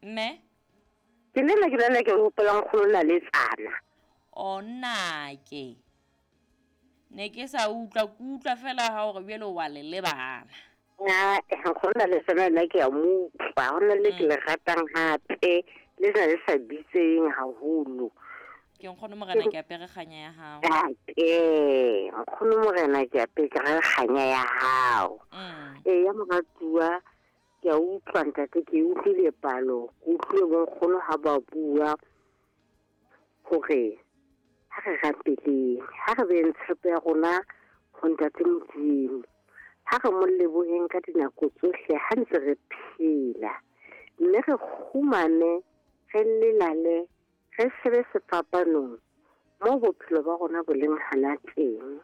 Mme? Ke nena ke nana ke hopola nkgono Naletsana. O nnake. Ne ke sa utlwa, ke utlwa fela ha hore bjale wa le lebala. Ah, nkgono Naletsana nna ke a mo utlwa. Ho na le ke le ratang hape, le na le sa bitseng haholo. Ke nkgono morena ke apere kganya ya hao. Ee, nkgono morena ke apere kganya ya hao. Ee, ya moratuwa, ke a utlwa ntate, ke utlwile palo, ke utlwile bonkgono ha ba bua hore ha re rapeleng, ha re beng tshepo ya rona ho ntate Modimo, ha re mo leboheng ka dinako tsohle ha ntse re phela, mme re kgumame, re lelale, re shebe sefapanong moo bophelo ba rona bo leng hana teng.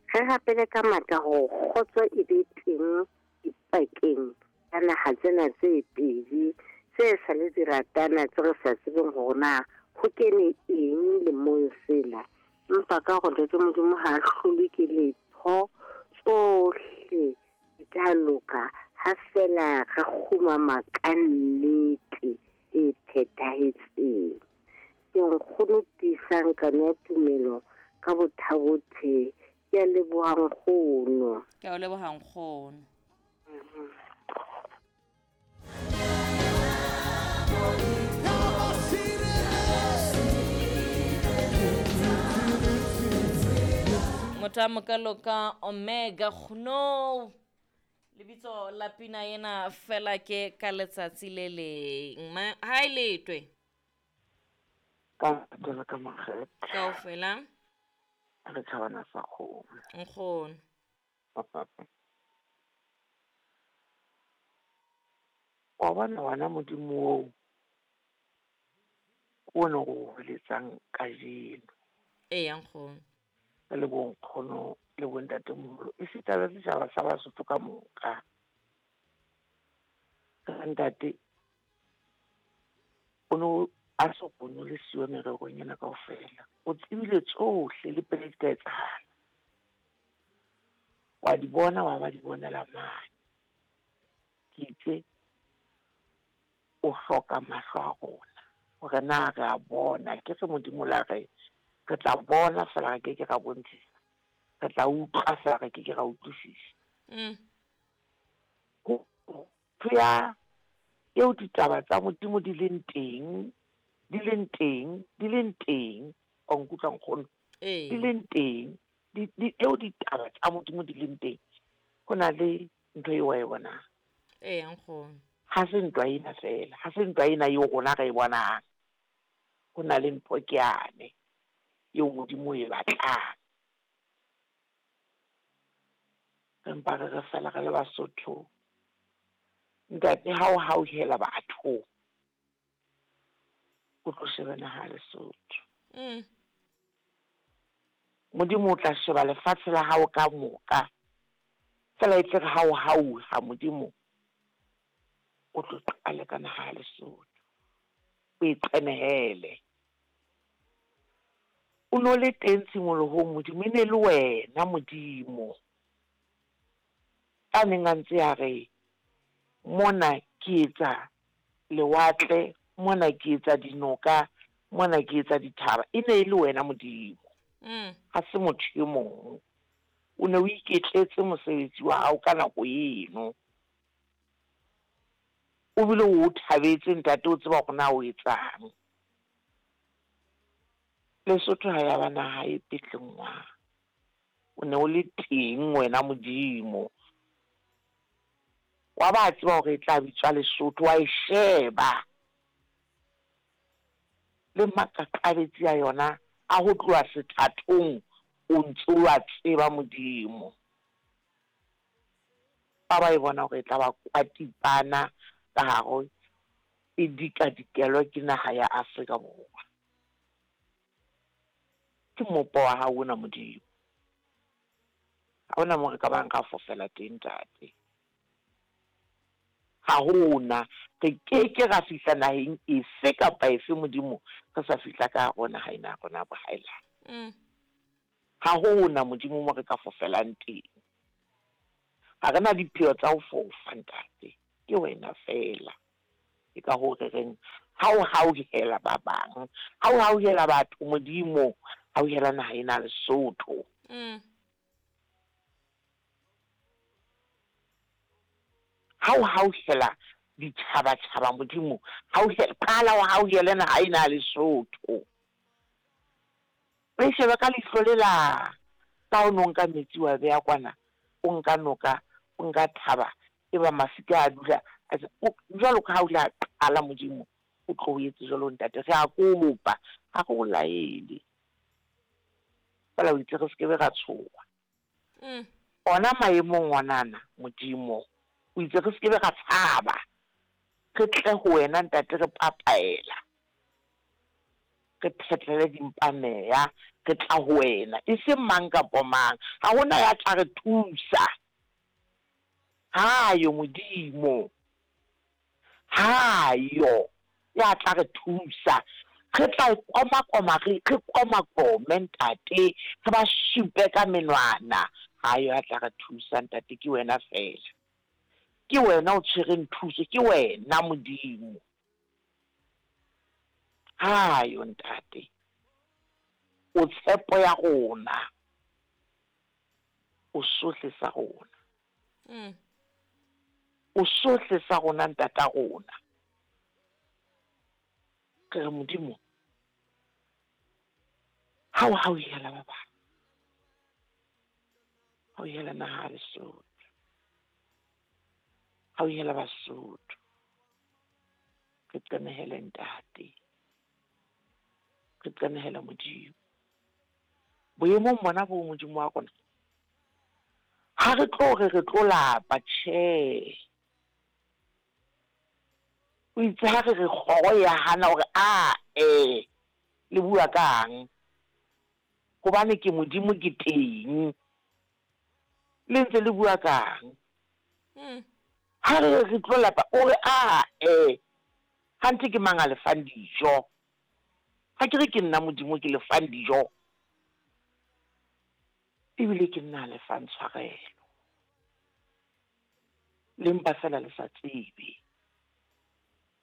Re rapele ka matla hore kgotso e be teng dipakeng tsa naha tsena tse pedi tse sa le di ratana, tse re sa tsebeng hore na ho kene eng lemong sena. Empa ka hore Ntate Modimo ha a hlolwe ke letho, tsohle di tla loka ha fela re kgumama ka nnete e phethahetseng. Ke nkgono tiisang kano ya tumelo ka bothabothe. Ke a leboha nkgono. Ke a o leboha nkgono. Motho a mokalo ka Omega Kgno. Lebitso la pina ena fela ke ka letsatsi le leng. Ha e letwe. Ka tsela ka makgethe. Kaofela. Re tjhabana sa kgomo. Nkgono. Wa bona wena Modimo oo, ke ona o hweletsang kajeno. Eya nkgono. Re le bonkgono le bontatemoholo, esita le setjhaba sa Basotho ka moka. Re ntate, o no a so kgone le siyo mererong ena kaofela. O tsebile tsohle le pele di ka etsahala. Wa di bona, wa ba di bonela mane. Ke itse, o hloka mahlo a rona hore na re a bona. Ke re Modimo la re, re tla bona fela re ke ke ra bontshisa. Re tla utlwa fela re ke ke ra utlwisisa. Ho ya eo ditaba tsa Modimo di leng teng, di leng teng, di leng teng. Wa nkutlwa nkgono? Di leng teng, eo ditaba tsa Modimo di leng teng. Ho na le ntho eo wa e bonang. Ee, nkgono. Ha se ntwa ena fela, ha se ntwa ena eo rona re e bonang. Ho na le ntho ke yane eo Modimo o e batlang. Re mpa re re fela re le Basotho. Ntate, ha o hauhela batho, o tlo sheba naha ya Lesotho. Modimo o tla sheba lefatshe la hao ka moka. Fela e tle re ha o hauha Modimo, o tlo qale ka naha ya Lesotho. O e qenehele. O no le teng tshimolohong Modimo, e ne le wena Modimo. A neng a ntse a re, mona ke etsa lewatle, mona ke etsa dinoka, mona ke etsa dithaba. E ne e le wena Modimo. Ha se motho e mong. O ne o iketletse mosebetsi wa hao ka nako eno. O bile o thabetse ntate, o tseba hore na o etsang. Lesotho ha ya ba naha e petlengwang. O ne o le teng wena Modimo. Wa ba tseba hore e tla bitswa Lesotho, wa e sheba. Le makaqabetsi a yona a ho tloha sethathong, o ntso wa tseba Modimo. Ba ba e bona hore e tla ba kwatipana ka hare e dikadikelwa ke naha ya Afrika Borwa. Ke mopo wa hao ona Modimo. Ha hona moo re ka bang ra fofela teng ntate. Ha hona, re keke ra fihla naheng efe kapa efe Modimo, re sa fihla ka hare ho naha ena ya rona ya bohaelane. Ha hona Modimo mo re ka fofelang teng. Ha re na dipheo tsa ho fofa ntate, ke wena fela. Ke ka hoo re reng, ha o hauhela ba bang, ha o hauhela batho, Modimo, hauhela naha ena ya Lesotho. Ha o hauhela ditjhabatjhaba, Modimo, hauhela, qala o hauhele naha ena ya Lesotho. O e shebe ka leihlo le la ka o no nka metsi wa beya kwana, o nka noka, o nka thaba, eba mafika a dula a tse, o, jwalo ka ha o ile a qala, Modimo, o tlo o etse jwalo, Ntate. Re a kopa, ha re o laele. Fela o itse re se ke be ra tshoha. Ona maemong onana, Modimo, o itse re se ke be ra tshaba. Re tle ho wena, Ntate, re papaela. Re phetlele dimpa meya, re tla ho wena, e seng mang kapo mang. Ha ho na ya tla re thusa. Ha yo, Modimo. Ha yo ya tla re thusa. Re tla komakoma, re, re komakome, Ntate, re ba supe ka menwana. Ha yo ya tla re thusa, Ntate, ke wena feela. Ke wena o tshwereng thuso, ke wena, Modimo. Ha yo, Ntate. O tshepo ya rona. O sohle sa rona. O sohle sa rona, Ntata rona. Re re, Modimo, ha o hauhela ba bang, hauhela naha ya Lesotho, hauhela Basotho, re qenehele Ntate, re qenehele Modimo. Boemong bona boo, Modimo wa rona, ha re tlo re re tlo lapa, tjhe. O itse ha re re kgoro ya hana hore a e, le bua kang? Hobane ke Modimo ke teng. Le ntse le bua kang? Ha re re re tlo lapa, o re a e, hanthe ke mang a le fang dijo? Ha ke re ke nna Modimo ke le fang dijo? Ebile ke nna a le fang tshwarelo. Le mpa feela le sa tsebe.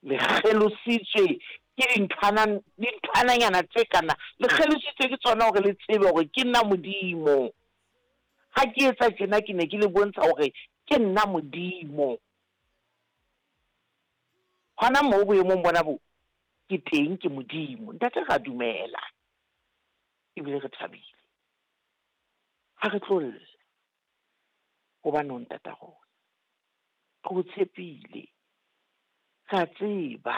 Le kgelositswe ke dinthwana, dinthwananyana tse kana. Le kgelositswe ke tsona hore le tsebe hore ke nna Modimo. Ha ke etsa tjena ke ne ke le bontsha hore ke nna Modimo. Hona moo boemong bona bo, ke teng ke Modimo. Ntate re a dumela ebile re thabile. Ha re tlo lla hobane o ntata rona. Re o tshepile. Re a tseba.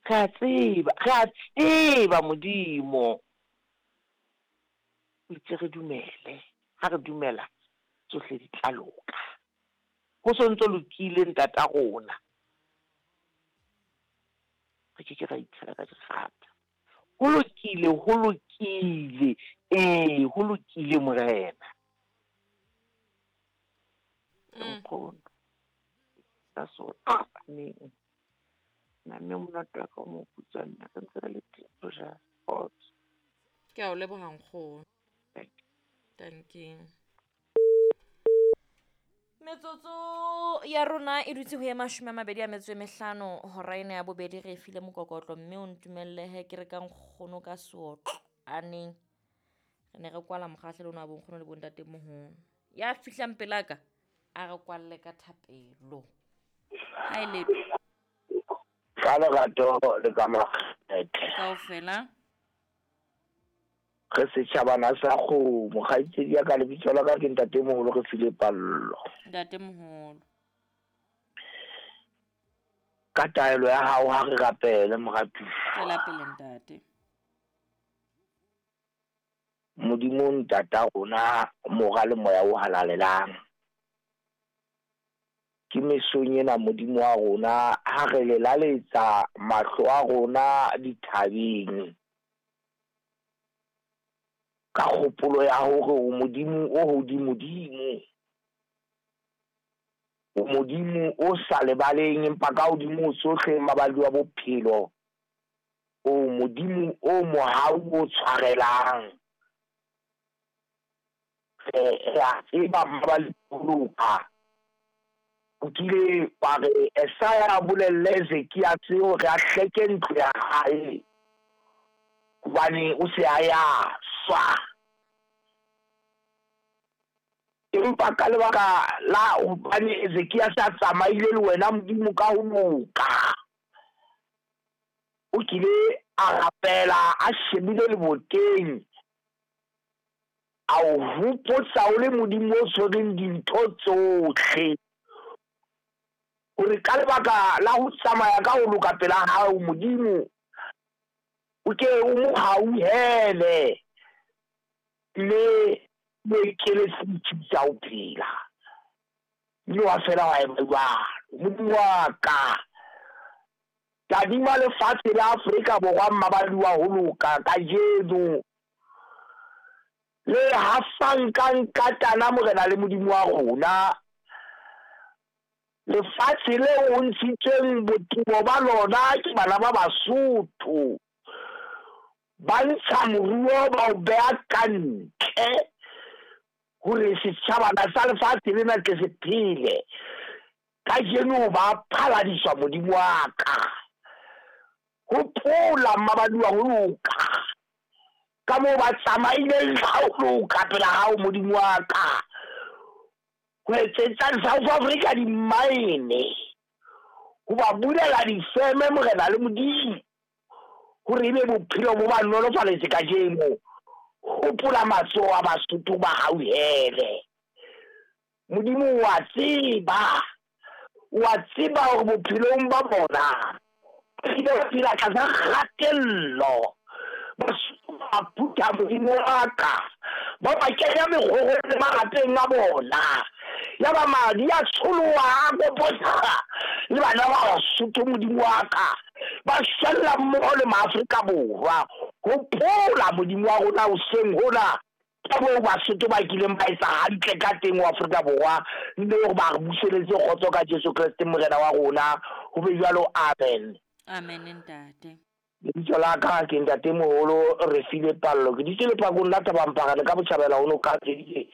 Re a tseba. Re a tseba Modimo. O itse re dumele. Ha re dumela tsohle di tla loka. Ho so ntso lokile ntata rona. Re ke ke ra itshela ka dikgapha. Ho lokile, ho lokile. Ee, ho lokile Morena. Nkgono. Ka so neng. Na mme monate wa ka o mo putswa nna re ntse re le teng ho ja kgotso. Ke a o leboha nkgono. Thank you. Metsotso ya rona e dutse ho ye 25 hora ena ya bobedi re e file mokokotlo mme o ntumellehe ke re ka nkgono ka seotlo aneng re ne re kwala mokgahlelo ona wa bonkgono le bontatemoholo ya fihlang pelaka a re kwalle ka thapelo ha e le ka lerato le ka makgethe kaofela Re setjhabana sa kgomo. Kgaitsedi ya ka, lebitso la ka ke Ntatemoholo re file pallo. Ntatemoholo. Ka taelo ya hao ha re rapele, moratuwa. Tswela pele, ntate. Modimo Ntata rona, Mora le Moya o Halalelang. Ke mesong ena, Modimo wa rona, ha re lelaletsa mahlo a rona dithabeng. Ka kgopolo ya hore o Modimo o hodimodimo, o Modimo o sa lebaleng empa ka hodimo ho tsohle mabadi wa bophelo, o Modimo o mohau o tshwarelang. Re a tseba mmabali boloka. O kile wa re Esaya a bolelle Ezekiase hore a hleke ntlo ya hae, hobane o se a ya swa. Empa ka lebaka la hobane Ezekiase a tsamaile le wena Modimo ka ho loka, o kile a rapela a shebile leboteng, a o hopotsa o le Modimo o tshwereng dintho tsohle, hore ka lebaka la ho tsamaya ka ho loka pela hao Modimo, o ke o mo hauhele mme o ekeletse ditshiu tsa ho phela. Mme wa fela wa eba jwalo. Modimo wa ka, tadima lefatshe la Afrika Borwa mmabadi wa ho loka kajeno, le hafang ka nkatana Morena le Modimo wa rona. Lefatshe leo o ntshitsweng botumo ba lona ke bana ba Basotho, ba ntsha moruo ba o beha ka ntle hore setjhabana sa lefatshe lena tle se phele. Kajeno ba phaladiswa Modimo wa ka. Hopola mmabadi wa ho loka, ka moo ba tsamaileng ka ho loka pela hao Modimo wa ka, ho etsetsa South Africa dimmaene, ho ba bulela difeme Morena le Modimo, hore ebe bophelo bo ba nolofaletse kajeno. Hopola matsoho a Basotho ba hauhele. Modimo wa tseba, wa tseba hore bophelong ba bona ba ile ba phela tlasa kgatello. Basotho ba phutha Modimo wa ka, ba ba kenya mekgorong le malapeng a bona, ya ba madi a tsholoha a kopotsa le bana ba Basotho Modimo wa ka, ba shwella mmoho le Maafrika Borwa. Hopola Modimo wa rona hoseng hona, ka moo Basotho ba kileng ba etsa hantle ka teng ho Afrika Borwa, mme hore ba re buseletse kgotso ka Jesu Kreste Morena wa rona. Ho be jwalo, amen. Amen ntate. Lebitso la ka ke ntate moholo Refile Pallo. Ke dutse lephakong la Thabamphara le ka botjhabela ho noka Tseditse.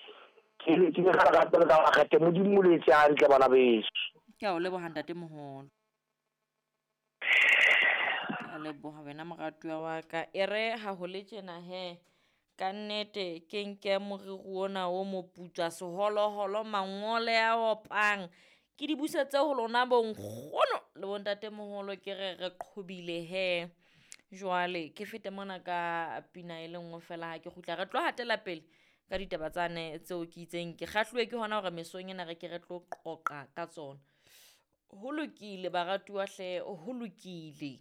Ke le ka lerato le ka makgethe. Modimo o le etse hantle bana beso. Ke a o leboha ntate moholo. Ke a leboha wena moratuwa wa ka. E re ha ho le tjena he, ka nnete ke nke moriri ona o moputswa seholoholo mangole a opang, ke di busetse ho lona bonkgono le bontate moholo, ke re re qhobile he. Jwale ke fete mona ka pina e le nngwe fela, ha ke kgutla re tlo hatela pele ka ditaba tsane tseo ke itseng ke kgahluwe ke hona hore mesong ena re ke re tlo qoqa ka tsona. Ho lokile baratuwa hle, ho lokile.